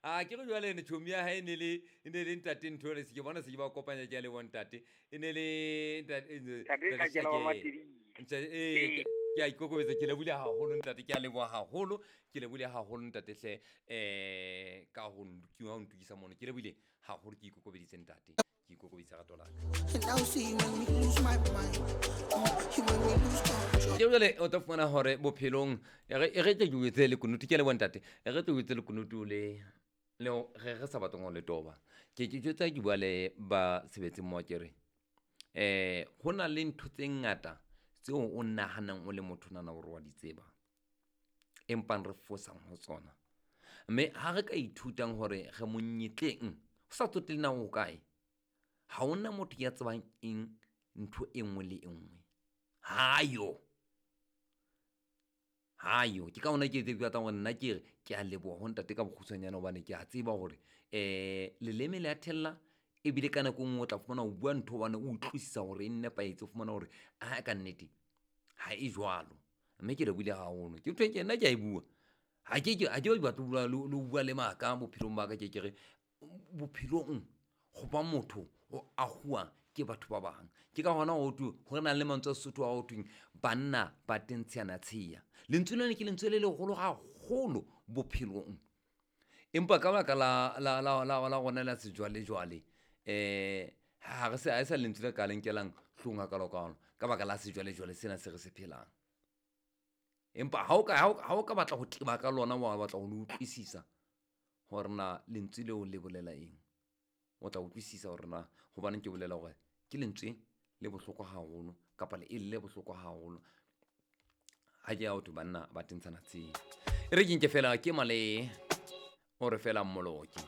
A ke re jwale ne tjhomi ya hae e ne le ntate ntho le se ke bona se ke ba kopanya, ke a leboha ntate. E ne le ntate Ntate Tlakela wa Matebele. Ntate, ee, ke a ikokobetsa, ke lebohile haholo ntate, ke a leboha haholo, ke lebohile haholo ntate hle, ka ho ho ntukisa mono, ke lebohile haholo, ke ikokobeditse ntate, ke ikokobeditse rato la ka. And now see you make me lose my mind. You make me lose control. Ke jwale o tla fumana hore bophelong e re tle ke o etse lekunutu, ke a leboha ntate, e re tle o etse lekunutu le re sa batleng ho le toba. Ke jwetsa, ke bua le ba sebetseng mo, ke re ho na le ntho tse ngata tseo o nahanang o le motho nana hore wa di tseba, empang re fosang ho tsona, mme ha re ka ithutang hore re monyetleng ho sa tsotelle na o kae, ha hona motho ya tsebang eng ntho e nngwe le e nngwe, hayo hayo. Ke ka hona ke ke batlang hore nna ke re ke a leboha ho ntate ka bokgutshwanyane, hobane ke a tseba hore leleme le a thella, ebile ka nako e nngwe o tla fumana o bua ntho hobane o utlwisisa hore e nepahetse, o fumana hore a ka nnete ha e jwalo. Mme ke lebohile haholo, ke ntho e ke nna ke a e bua, ha ke batle ho bua le ho bua le maka bophelong ba ka. Ke re bophelong ho ba motho o ahuwa ke batho ba bang, ke ka hona ho thwe ho na le mantswe a Sesotho a ho thweng banna ba tentshana tsheya. Lentswe lena ke lentswe le leholo haholo bophelong, empa ka baka la rona la sejwalejwale, ha re se ha e sa lentswe le ka le nkelang hloohong hakalo-kalo ka baka la sejwalejwale sena se re se phelang. Empa ha o ka batla ho teba ka lona, wa batla ho le utlwisisa hore na lentswe leo le bolela eng, o tla utlwisisa hore na hobaneng ke bolela hore ke lentswe le bohlokwa haholo kapa le e le bohlokwa haholo ha ke ya ho thwe banna ba tentshana tsheya. E re ke nke fela ke male o re fela mmoloki.